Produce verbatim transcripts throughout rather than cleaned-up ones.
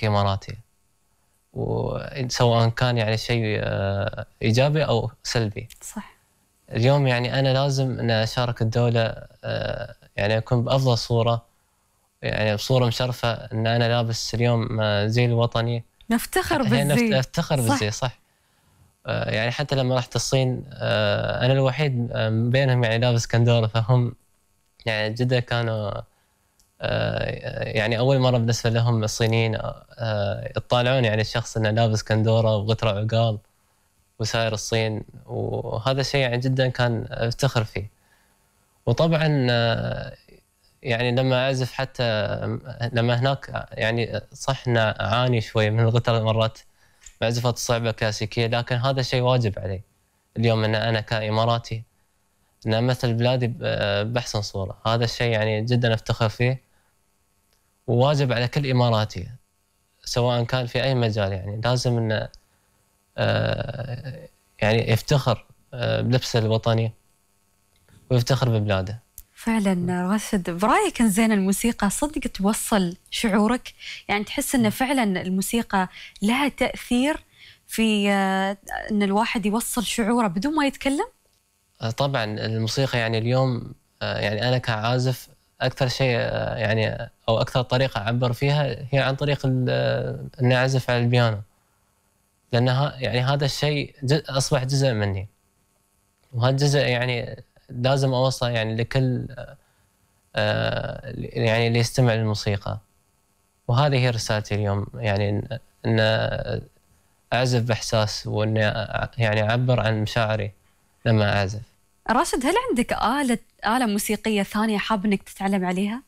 موسيقي إماراتي، وسواء كان يعني شيء إيجابي أو سلبي. صح. اليوم يعني أنا لازم أن أشارك الدولة، يعني أكون بأفضل صورة، يعني بصورة مشرفة أن أنا لابس اليوم زي الوطني. نفتخر بالزي. نفتخر بالزي صح. يعني حتى لما رحت الصين أنا الوحيد بينهم يعني لابس كندورة، فهم يعني جدا كانوا يعني أول مرة بالنسبة لهم الصينيين يطالعون يعني الشخص أنه لابس كندورة وغترة عقال وسائر الصين، وهذا الشيء يعني جدا كان افتخر فيه. وطبعا يعني لما أعزف حتى لما هناك يعني صح أن أعاني شوي من الغترة مرات معزفات الصعبة كلاسيكية، لكن هذا الشيء واجب علي اليوم أن أنا كإماراتي أن أمثل بلادي بأحسن صورة. هذا الشيء يعني جدا أفتخر فيه، وواجب على كل إماراتي سواء كان في أي مجال، يعني لازم أن يعني يفتخر بلبسه الوطني ويفتخر ببلاده. فعلا راشد، برأيك زين الموسيقى صدق توصل شعورك؟ يعني تحس أن فعلا الموسيقى لها تأثير في أن الواحد يوصل شعوره بدون ما يتكلم؟ طبعا الموسيقى يعني اليوم يعني أنا كعازف أكثر شيء يعني أو أكثر طريقة أعبر فيها هي عن طريق أني أعزف على البيانو، لأنها يعني هذا الشيء أصبح جزء مني، وهذا الجزء يعني لازم أوصله يعني لكل يعني اللي يستمع للموسيقى. وهذه هي رسالتي اليوم، يعني أن أعزف بإحساس، وأن يعني أعبر عن مشاعري لما أعزف. راشد، هل عندك آلة آلة موسيقية ثانية حاب إنك تتعلم عليها؟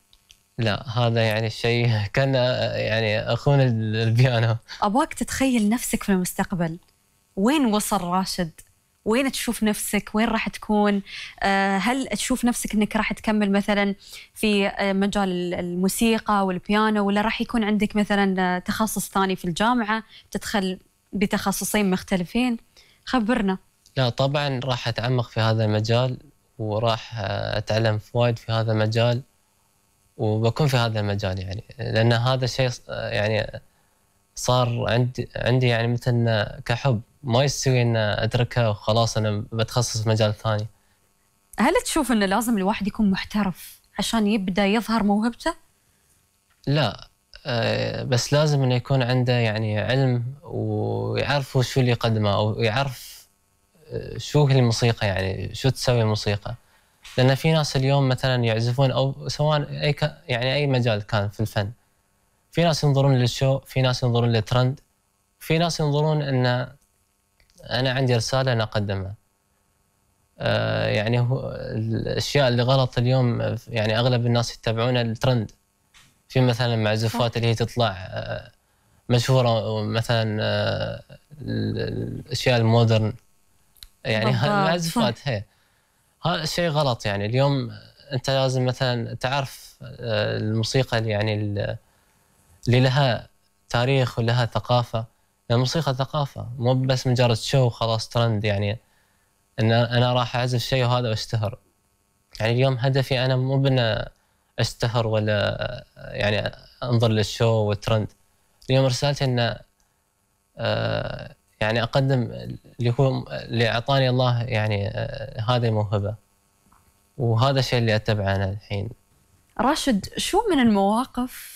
لا، هذا يعني الشيء كان يعني أخون البيانو. أبغاك تتخيل نفسك في المستقبل، وين وصل راشد؟ وين تشوف نفسك؟ وين راح تكون؟ هل تشوف نفسك إنك راح تكمل مثلا في مجال الموسيقى والبيانو، ولا راح يكون عندك مثلا تخصص ثاني في الجامعة تدخل بتخصصين مختلفين؟ خبرنا. لا طبعا راح أتعمق في هذا المجال، وراح أتعلم فوائد في هذا المجال، وبكون في هذا المجال، يعني لأن هذا الشيء يعني صار عندي عندي يعني مثل كحب، ما يستوي ان اتركها وخلاص انا بتخصص في مجال ثاني. هل تشوف انه لازم الواحد يكون محترف عشان يبدا يظهر موهبته؟ لا، بس لازم انه يكون عنده يعني علم ويعرف شو اللي يقدمه، او يعرف شو هي الموسيقى، يعني شو تسوي الموسيقى. لان في ناس اليوم مثلا يعزفون او سواء اي يعني اي مجال كان في الفن، في ناس ينظرون للشو، في ناس ينظرون للترند، في ناس ينظرون ان انا عندي رساله انا اقدمها. آه يعني هو الاشياء اللي غلط اليوم، يعني اغلب الناس يتبعون الترند، في مثلا معزوفات اللي هي تطلع آه مشهوره، مثلا آه الاشياء المودرن، يعني المعزوفات هي هذا الشيء غلط. يعني اليوم انت لازم مثلا تعرف آه الموسيقى اللي يعني اللي لها تاريخ ولها ثقافه. الموسيقى ثقافه، مو بس مجرد شو خلاص ترند، يعني ان انا راح اعزف شيء وهذا اشتهر. يعني اليوم هدفي انا مو بان اشتهر ولا يعني انظر للشو والترند. اليوم رسالتي ان آه يعني اقدم اللي هو اللي اعطاني الله، يعني آه هذه الموهبه، وهذا الشيء اللي اتبعه انا الحين. راشد، شو من المواقف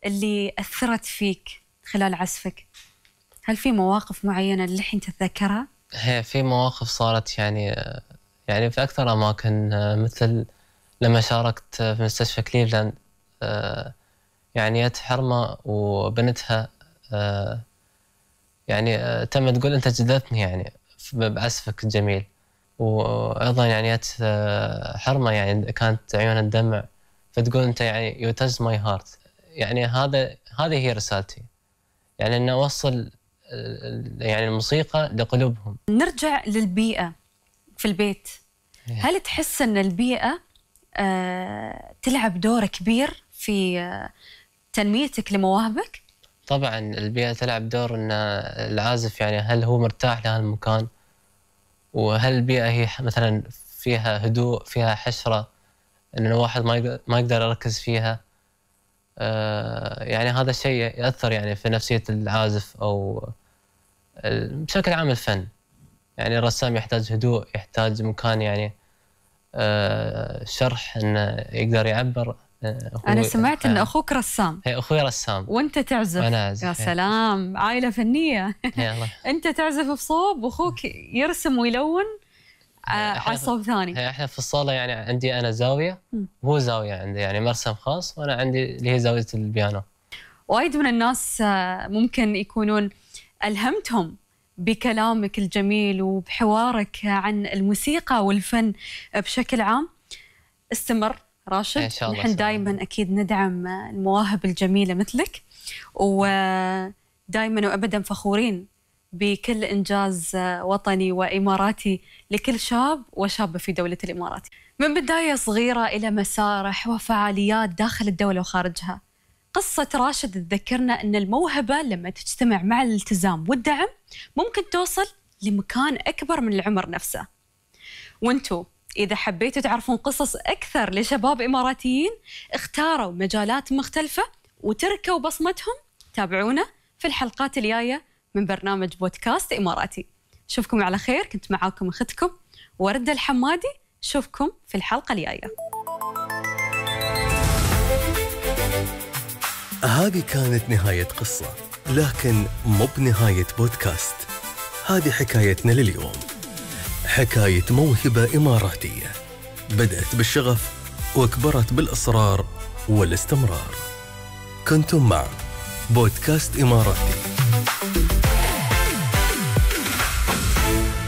اللي اثرت فيك خلال عزفك؟ هل في مواقف معينه اللي الحين تتذكرها؟ هي في مواقف صارت يعني يعني في اكثر اماكن، مثل لما شاركت في مستشفى كليفلاند، يعني جت حرمه وبنتها يعني تم تقول انت جذبتني يعني بعزفك الجميل. وايضا يعني جت حرمه يعني كانت عيونها تدمع، فتقول انت يعني يو تاج ماي هارت. يعني هذا هذه هي رسالتي، يعني ان اوصل يعني الموسيقى لقلوبهم. نرجع للبيئة في البيت. هل تحس أن البيئة آه تلعب دور كبير في آه تنميتك لمواهبك؟ طبعا البيئة تلعب دور، أن العازف يعني هل هو مرتاح لهالمكان، وهل البيئة هي مثلا فيها هدوء، فيها حشرة، أن الواحد ما ما يقدر يركز فيها، يعني هذا الشيء يأثر يعني في نفسية العازف أو بشكل عام الفن. يعني الرسام يحتاج هدوء، يحتاج مكان يعني شرح إنه يقدر يعبر. أنا سمعت إن أخوك رسام. هي أخوي رسام. وأنت تعزف. وأنا أعزف. يا سلام، عائلة فنية. أنت تعزف بصوب وأخوك يرسم ويلون على صوب ثاني. إحنا في الصالة يعني عندي أنا زاوية وهو زاوية عنده، يعني مرسم خاص، وأنا عندي اللي هي زاوية البيانو. وايد من الناس ممكن يكونون ألهمتهم بكلامك الجميل وبحوارك عن الموسيقى والفن بشكل عام. استمر راشد، نحن دائما أكيد ندعم المواهب الجميلة مثلك، ودائما وأبدا فخورين بكل إنجاز وطني وإماراتي لكل شاب وشابة في دولة الإمارات، من بداية صغيرة إلى مسارح وفعاليات داخل الدولة وخارجها. قصة راشد تذكرنا أن الموهبة لما تجتمع مع الالتزام والدعم ممكن توصل لمكان أكبر من العمر نفسه. وانتو إذا حبيتوا تعرفون قصص أكثر لشباب إماراتيين اختاروا مجالات مختلفة وتركوا بصمتهم، تابعونا في الحلقات الجاية من برنامج بودكاست إماراتي. شوفكم على خير، كنت معاكم أختكم وردة الحمادي. شوفكم في الحلقة الجاية. هذه كانت نهاية قصة، لكن مو بنهاية بودكاست. هذه حكايتنا لليوم، حكاية موهبة إماراتية بدأت بالشغف وكبرت بالإصرار والاستمرار. كنتم مع بودكاست إماراتي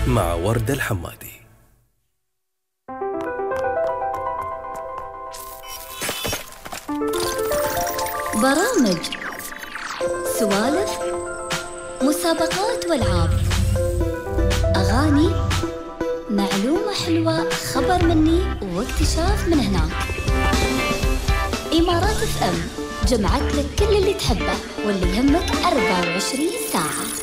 مع وردة الحمادي. برامج، سوالف، مسابقات والعاب، أغاني، معلومة حلوة، خبر مني واكتشاف من هناك. إمارات اف ام جمعت لك كل اللي تحبه واللي يهمك أربعة وعشرين ساعة.